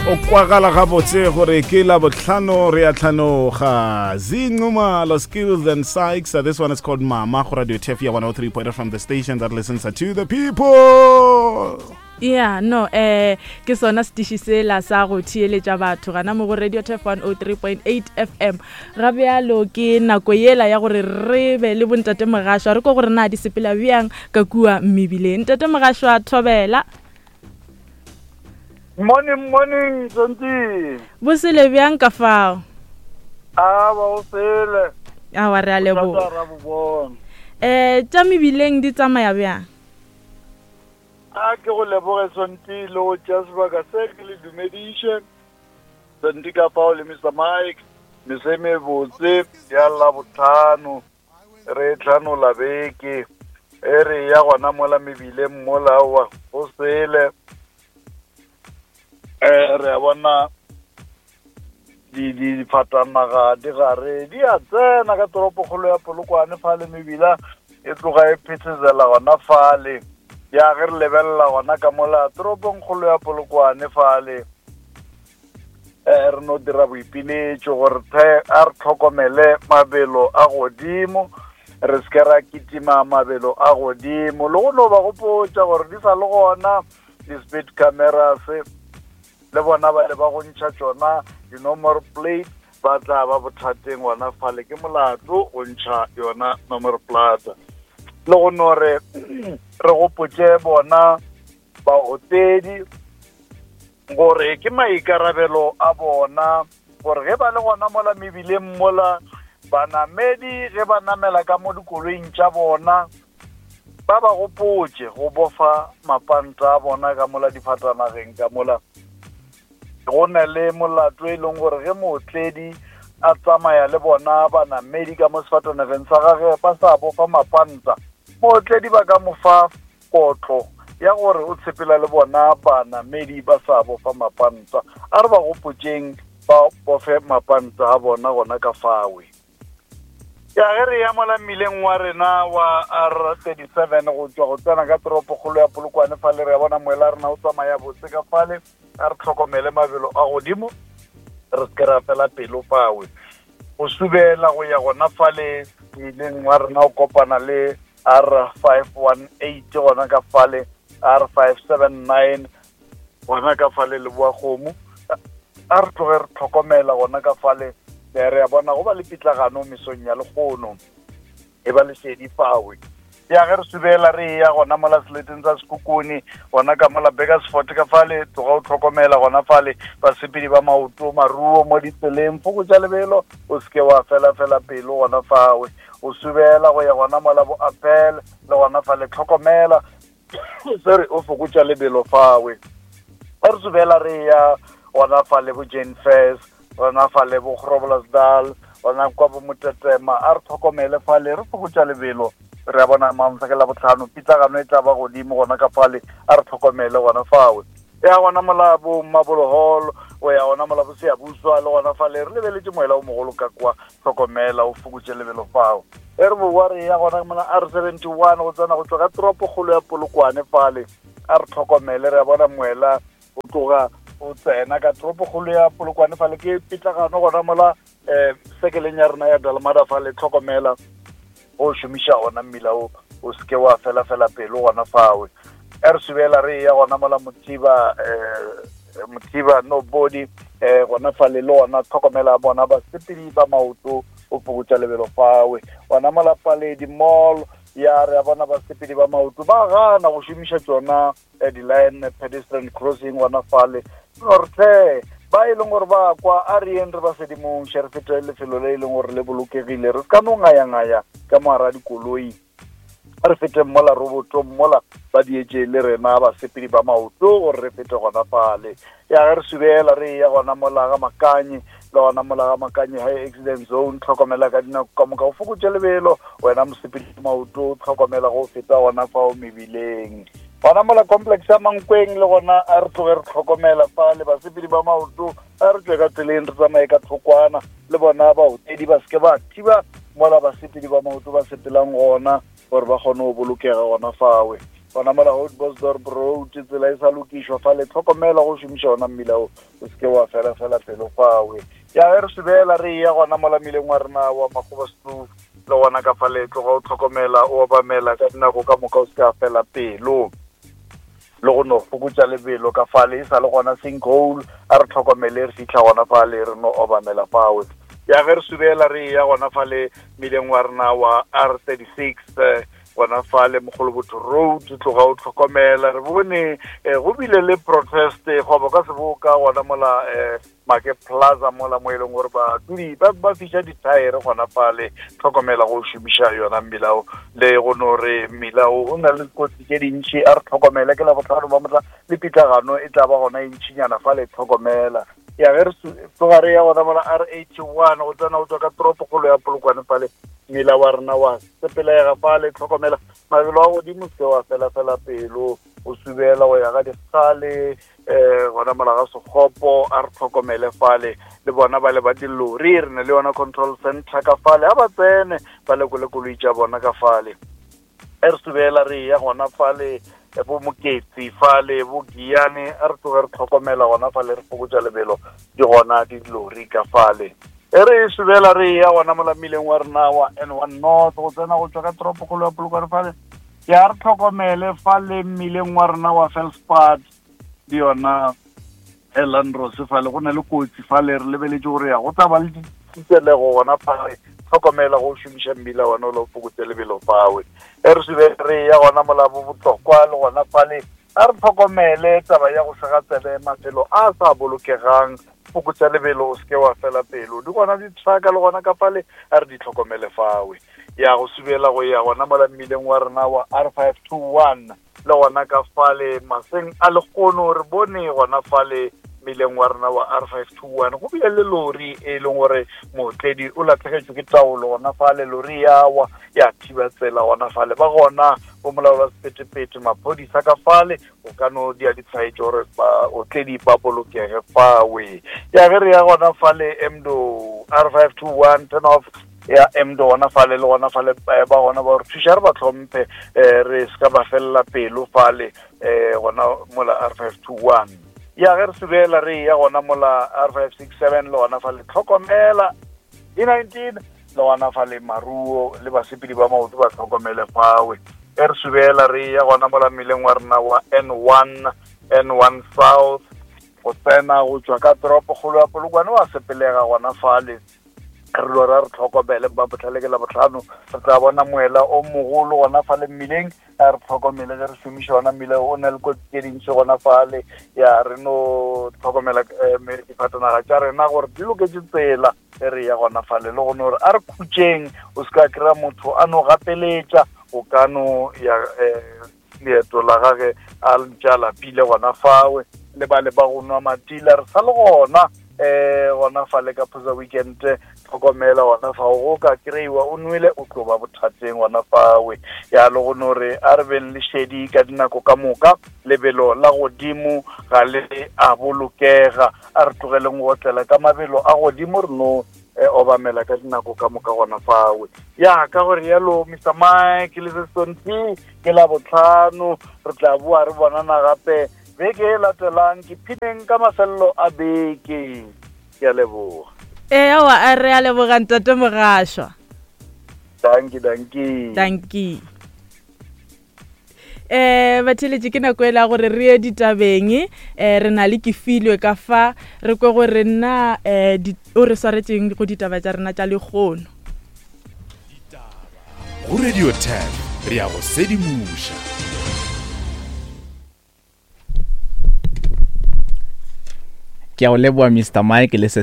O kwagala gabotse gore ke la bohlano re a tlhanoga. Zinqumalo Skills and Sykes. This one is called Mama go Radio Tef ya 103.8 from the station that listens to the people. Yeah, no, eh ke sona setiši sela sa go theeletša batho gana mo go Radio Tef 103.8 FM. Ga bjalo ke nako yela ya gore re be le bontate Mogašwa re ko gore na di sepela bjang ka kua mebileng. Ntate Mogašwa thobela. Morning, morning, Sonti. Bosele bjang ka fao? A ba o sele. Awa re a leboga. Eh tša mebileng di tsamaya bjang? A ke go leboge Sonti le go tšea sebaka se ke le dumediše. Sonti ka fao le Mr Mike, mese mebotse ya Labohlano. Re tlhanola beke e re ya gona mola mebileng mola aowa go sele. Um re a bona difatanaga di gare di a tsena ka toropokgolo ya Polokwane fale mebila e tloga e phethezela gona fale. Ya ge re lebelela gona ka mola toropongkgolo ya Polokwane fale eh re no dira boipiletšo gore a re tlhokomele mabelo a godimo re se ke ra kitima mabelo a godimo le go no ba gopotša gore di sa le gona di-speed cameras le bona ba le ba go ntšha tšona di-nomor plate ba tla ba bothateng gona fale ke molato go ntšha yona nomor plata le go no re re gopotše bona baotledi gore ke maikarabelo a bona gore ge ba le gona mola mebileng mola banamedi ge ba namela ka mo dikoloing tša bona ba ba gopotše go bofa mapanta a bona ka mola difatanageng ka mola go na le molato e leng gore ge mootledi a tsamaya le bona banamedi ka mo sefatanageng sa gage ba sa bofa mapanta mootledi ba ka mo fa kotlo ya gore o tshepela le bona banamedi ba sa bofa mapanta. A re ba gopotšeng ba bofe mapanta a bona gona ka fawe. Ya ge re ya mola mmileng wa rena wa R37 go tšwa go tsena ka toropokgolo ya Polokwane fale re ya bona moela rena o tsamaya botse ka fale a re tlhokomele mabelo a godimo re se ke ra fela pelo fawe go subela go ya gona fale mmileng wa rena o kopana le R518 gona ka fale R579 gona ka fale Leboakgomo a re tloge re tlhokomela gona ka fale re a bona go ba le pitlagano mesong ya lekgono e ba lesedi fawe ya ge re subela re ya gona mola seleteng sa Sekhukhune gona ka mola Burgersfort ka fale tloga o tlhokomela gona fale basepedi ba maoto maruo mo ditseleng fokotša lebelo o seke wa fela fela pelo gona fawe o subela go ya gona mola bo Appel le gona fale tlhokomela sorry o fokotša lebelo fawe ba re subela re ya gona fale bo Jane Fairs gona fale bo Groblersdal gona kwa bo Motetema a re tlhokomele fale re fokotša lebelo re a bona mamsa ke la botlhano pitlagano e tla ba godimo gona ka fale a re tlhokomele gona fawe ya gona mola bo Mabolo Hall o ya gona mola bo Siyabuswa le gona fale re lebeletše moela o mogolo ka kwa tlhokomela o fokotše lebelo fao e re bowa re ya gona mola R 71 go tsena go tšwa ka toropokgolo ya Polokwane fale a re tlhokomele re a bona moela o tloga o tsena ka toropokgolo ya Polokwane fale ke pitlagano gona mola um sekeleng ya rena ya Dalmada fale tlhokomela o šomiša ona mmila o o seke wa fela fela pelo gona fawe e re subela re ya gona mola Mothiba um Mothiba nobody um gona fale le gona tlhokomela bona basepedi ba maoto o fokotša lebelo fawe gona mola Paledi Mall ya re a bona basepedi ba maoto ba gana go šomiša tšona eh, di-line pedestrian crossing gona fale gore tle ba e leng gore ba kwa a re yeng re ba sedimong še re fete lefelo le e leng gore le bolokegile re se ka no ngayangaya ka mogara dikoloi a re fete mola robotong mola ba dietše le rena basepedi ba maoto gore re fete gona fale ya ge re subela re ya gona mola ga Makanye le gona mola ga Makanye high accident zone tlhokomela ka dinako ka moka o fokotše lebelo wena mosepedi maoto tlhokomela go feta gona fao mebileng gona mola complex ya Mankweng le gona a re tloge re tlhokomela fa le basepedi ba maoto a re tswe ka tseleng re tsamaye ka thokwana le bona baotledi ba seke ba thiba mola basepedi ba maoto ba sepelang gona gore ba kgone go bolokega gona fawe. Gona mola Oudtshoorn Road tsela e sa lokišwa fale, tlhokomela go šomiša ona mmila o, o se ke wa fela fela pelo fawe. Ya ge re subela re eya gona mola mmileng wa rena wa Makgobasekloof, le gona ka fale tloga o tlhokomela o obamela ka dinako ka moka o se ke wa fela pelo. Le go no fokotša lebelo ka fale e sa le gona sinkhole, a re tlhokomele re fihla gona fale re no obamela fawe. Ya ge re subela re eya gona fale mmileng wa rena wa R36 eh, gona fale Mogolobotho Road, tloga o tlhokomela. Re bone eh, go bile le protest eh, goba ka seboka gona mola eh, Make Plaza mola mo e leng gore badudi ba ba fiša dithaere gona fale. Tlhokomela go šomiša yona mmila o, le go no re mmila o o na le dikotsi tše dintši, a re tlhokomele. Ke Labohlano ba motla le pitlagano e tla ba gona e ntšinyana fale, tlhokomela. Ya ge re tloga re ya gona mola R81 go tsena go tswa ka toropokgolo ya Polokwane fale, mmila wa rena wa sepelega fale, tlhokomela mabelo a godimo, se wa fela fela pelo, o subela go ya ga dikgale um gona mola ga Sekgopo, a re tlhokomele fale. Le bona ba le ba dilori, re ne le yona control center ka fale, ga ba tsene ba lekole koloi tša bona ka fale. E re subela re ya gona fale bo Moketsi fale bo Giane, a re tloge re tlhokomela gona fale, re fokotša lebelo, di gona dilori ka fale. E re subela re ya gona mola mmileng wa rena wa N1 North go tsena go tswa ka toropokgolo ya Polokwane fale, ya re tlhokomele fale mmileng wa rena wa Felspad le yona Elandros fale, go na le kotsi fale, re lebeletše gore ya go tla ba le ditselego gona fale, tlhokomela go šomiša mmila wona o le o fokotse lebelo fawe. E re sube re ya gona mola bo Botlokwa le gona fale, a re tlhokomele taba ya go sega tsebe mafelo a sa bolokegang, fokotsa lebelo o seke wa fela pelo, di gona di-trucka le gona ka fale, a re di tlhokomele fawe. Ya go subela go ya gona mola mmileng wa rena wa R521 le gona ka fale maseng a lekgono, re bone gona fale mmileng wa rena wa R521 go bile le lori e leng gore mootledi o latlhegetšwe ke taolo gona fale, lori ya wa ya thiba tsela gona fale, ba gona bo molaola sephethephethe maphodisa ka fale o ka no dia ditshwaetšo gore baotledi ba bolokege fawe. Ya ge re ya gona fale Emdo R521 turn off ya Emdo gona fale, le gona fale ba gona ba re thuša, re ba tlhomphe, re se ka ba felela pelo fale gona mola R521. Ya ge re subela re ya gona mola R567 le gona fale tlhokomela D19 le gona fale maruo le basepedi ba maoto ba tlhokomele fawe. E re subela re ya gona mola mmileng wa rena wa N1 N1 South go tsena go tswa ka toropokgolo ya Polokwane wa sepelega gona fale, re lo ra re tlhokomele ba botlhale ke Labohlano re tla bona moela o mogolo gona fale mmileng, a re tlhokomele ge re šomiša ona mmila o na le kotsi tše dintši gona fale. Ya re no tlhokomela difatanaga tša rena gore di loketše tsela ge re ya gona fale, le gone gore a re khutšeng, o se ka kry-a motho a no gapeletša, o ka no ya leeto la gage a ntše a lapile gona fawe. Le ba le ba go nwa matila re sa le gona gona fale ka phosa weekend, tlhokomela gona fao, go ka kry-iwa o nwele o tlo ba bothateng gona fawe. Ya le go no re a re beng le šedi ka dinako ka moka, lebelo la godimo ga le a bolokega, a re tlogeleng go otlela ka mabelo a godimo, re no obamela ka dinako ka moka gona fawe. Ya ka gore yalo Mr Mike le Sesonti ke la botlhano, re tla boa re bonana gape beke e latelang. Ke phineng ka mafelelo a beke, ke a leboga. Ee, aowa, a re a leboga ntate Mogašwa. Dankie, dankie. Dankie. Batheletše ke nako e la gore re ye ditabeng, re na le Kefilwe ka fa, re kwe gore nna o re swaretšeng go ditaba tša rena tša lekgono. Ditaba go Radio 10 re ya go sedimoša. Ke a o leboa Mr Mike le se.